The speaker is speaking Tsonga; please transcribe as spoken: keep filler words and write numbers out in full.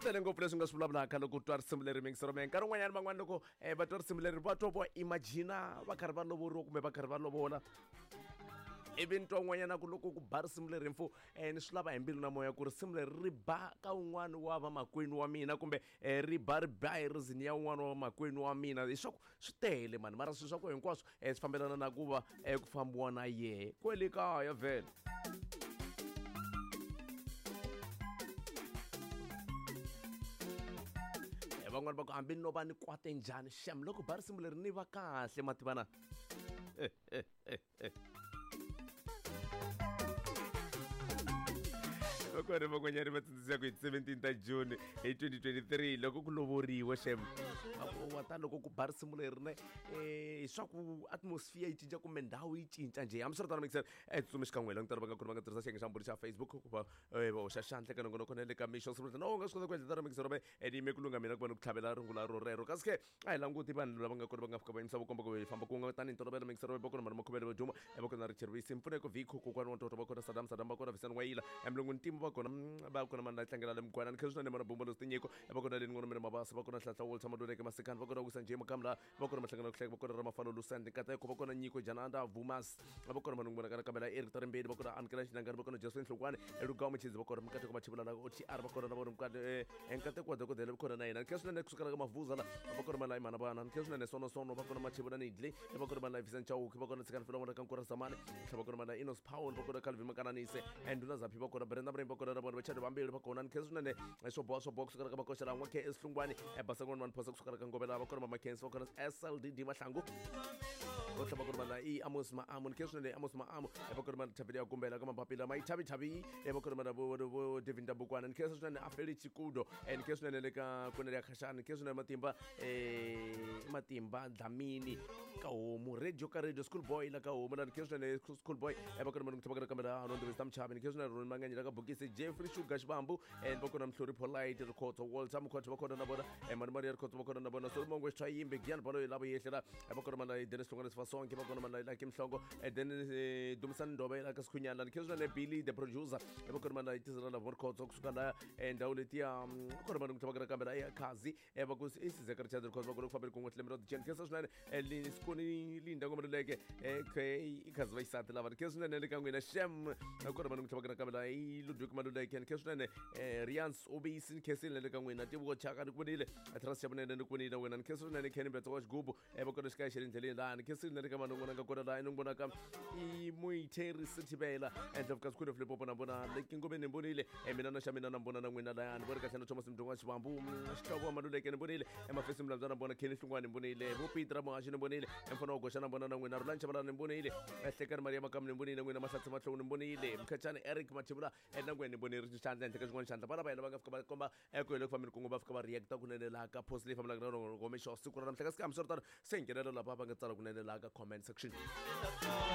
Tele ngopfu leswi nga swi vulavulaka loko u twa risimu leri mingisero me nkarhi wun'wanyana van'wana loko um va twa risimu leri va twa vo imagina va karhi va lovoriwa kumbe va karhi va lovola. Ivi ni twa un'wanyana ku loko ku ba risimu leri mfu um ni swi lava hi mbilu na moya ku risimu leri ri ba ka un'wana wa vamakwenu wa mina kumbe um ri ba ri ba hi rizini ya un'wana wa vamakwenu wa mina. Leswaku swi tele mani, mara swilo swa ku hinkwaswo um swi fambelana na ku va um ku fambiwa na yehe kwele kaya vhele. Van'wani va ku hambi no va ni kwate njhani xem loko ba risimu leri ni va kahle mativana. Va kona van'wanyana va tsundzuxa ku hi seventeen ta June hi twenty twenty-three loko ku lovoriwa xem wa ta loko ku ba risimu leri ne um swa ku atmosphere yi cinca kumbe ndhawu yi cinca njhe. Hambiswiritano mixer e tsutsumi xikan'we langutana va nga kona va nga tirhisa xiyenge xa mbhuri xa Facebook ku va va hoxa xandla ka nongonoko na le ka mixo siku no u nga swi kota ku endla tano mixer ve ni yime ku lungha mina ku va ni ku tlhavela rungula ro rero. Kasi ke a hi languti vanhu lava nga kona va nga fika va yimisa vukomba ku hi famba ku nga tanihi ntolovelo mixer va kona mara makhuvele va duma va kona Richard Wisi Mpfuneko Viko kokwana wa ntoto va kona Sadam Sadam va kona Visani Wayila Mlungu Ntimu va kona va kona mani la tlangela le Mugwana ni khensa swinene mana Bumba Tinyiko va kona Leni Ngomele Mabasa va kona Hlatla Walter Maduleke Masikani va kona Wisa Njhe Makamla va kona Mahlangana Kuhleka va kona Ramafalo Lusandi Nkateko va kona Nyiko Jananda Vumas va kona Manungu Kana Kamela Eric Tarimbeni va kona Amkela Xinangani va kona Josephine Hlongwane Elugawu Mchizi va kona Mkateko Machibula la O T R va kona na vona Mkate Nkateko wa dokodela va kona na yena. Khensa swinene kusukela ka Mavuza la va kona Malai Mana Bana khensa swinene Sono Sono va kona Machibula Nidli va kona Malai Vincent Chauki va kona Tsikani Filomona ka Nkura Zamani va kona Malai Inos Paul va kona Calvin Makananise Nduna Zaphi va kona Brenda Brenda va kona na vona Vachadi vambirhi va kona. Khensa swinene swo boha swo boha kusukela ka Makoxela n'wa K S Hlungwani Basangwana Manphosa kusukela ka Ngobela va kona Mama Kensi va kona S L D D Mahlangu va tlhela va kona mana i Amos Maamu ni khensa swinene Amos Maamu va kona mana Thabile ya Kumbela ka Mapapila Maithabi Thabi va kona mana vo vo Devin Dabukwana ni khensa swinene Afeli Chikudo ni khensa swinene le ka Kunele ya Khashani ni khensa swinene Matimba eh Matimba Dlamini ka homu radio ka radio school boy la ka homu la ni khensa swinene school boy va kona mana Ngithaba ka kamera no Ndovista Mchavi ni khensa swinene Ron Manganye la ka Bokisi Jeffrey Sugar Xibambu va kona Mhlori Polite Rikhotso Walter Mkhotho va kona na vona Mani Maria Rikhotso va kona na vona Solomon Xwayimbe Gian Balo lava yehlela va kona mana Dennis Hlongwane Sifasonke va kona mana Lucky Mhlongo then Dumisani Ndobe la ka Sikhunyana ni khensa swinene Billy the producer va kona mana Tizela la Rikhotso kusuka la ndhawu letiya kona mana Ngithaba ka kamera ya Khazi va ku Isizeka Richard Rikhotso va kona ku fambela kun'we tlhelo ra Jen khensa swinene Sikoni Linda Ngomaluleke okay ikhazi va xisati lava ni khensa swinene le ka n'wina xem kona mana Ngithaba ka kamera i Ludwig Maluleke ni khensa swinene Rians Obisi ni khensile le ka n'wina Tivuko Chaka ni ku vonile Trust Xavunene ni ku vonile wena ni khensa swinene Kenny Betso wa Xigubu va kona xikaya xa le ndleleni laha ni khensile le ka vanhu n'wana nga kona laha ni vonaka i Muitheri Sithibela Ndlovukazi Queen of Limpopo na vona Leki Ngobeni ni vonile mina na xa mina na vona na n'wina laya ni voni kahle na Thomas Mdungu wa Xivambu Xihlovo wa Maluleke ni vonile Emafesi Mlambyana na vona Kenny Hlungwani ni vonile vo Peter Muhaxi ni vonile Mfana wa Goxa na vona na n'wina Rulani Chabalala ni vonile Hlekani Maria Makamu ni vonile n'wina Mahlatsi Matlou ni vonile Mkhachani Eric Mathebula na n'wina ni vonile ri xandla henhla ka xin'wana xandla vana va hina va nga fika va komba eku hi le ku fambeni kun'we va fika va reacta kunene laha ka post leyi fambelaka na rona mixo siku ra namuntlha kasi hambiswiritano se nghenela lava va nga tsala kunene laha ka comment section.